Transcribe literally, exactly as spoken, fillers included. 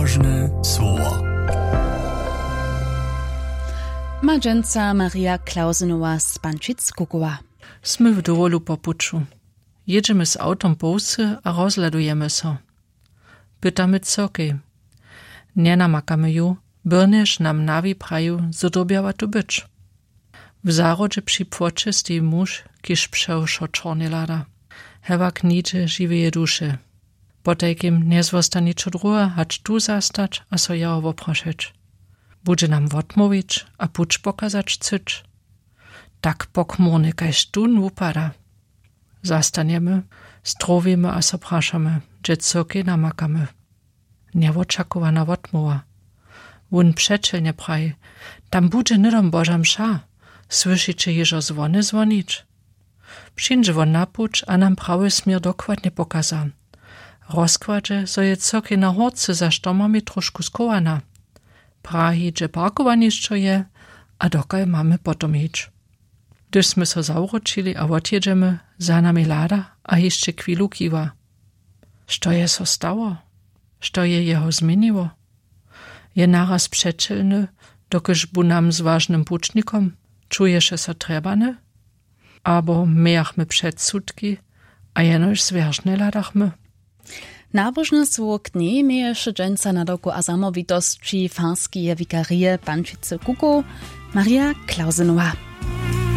Ważne słowa. Ma dźensa Maria Klausenowa z Pančic kukowa. Smy w dowolu po puću. Jědźemy z awtom po wsy a rozhladujemy so. Pytamy cyrkej. Njenamakamy ju, byrnjež nam nawi praju, zo dyrbjała tu być. W zahrodźe při płoće steji muž, kiž přewšo čornje hlada. Hewak nihdźe žiweje duše. Potajkim njezwosta ničo druhe hač tu zastać a so jeho woprašeć. Budźe nam wotmołwić a puć pokazać chcyć. Tak pokmórny kaž tón wupada. Zastanjemy, strowimy a so prašamy, hdźe cyrkej namakamy. Njewočakowana wotmołwa. Wón přećelnje praji: „Tam budźe hnydom Boža mša. Słyšiće hižo zwony zwonić?“ Přińdźe wón na puć a nam prawy směr dokładnje pokaza. Rozkładźe, zo je cyrkej na hórce za štomami trošku schowana. Prahi, hdźe parkowanišćo je a dokal mamy potom hić. Hdyž smy so zawróćili a wotjědźemy, za nami hlada a hišće chwilu kiwa. Što je so stało? Što je jeho změniło? Je naraz přećelny, dokelž bu nam z wažnym pućnikom? Čuješe so trjebany? Abo mějachmy předsudki a jenož zwjeršnje hladachmy? Nabožne słowo k njej měješe dźensa na doku a zamołwitosći farskeje wikarije Pančicy Kukow Maria Klausenowa.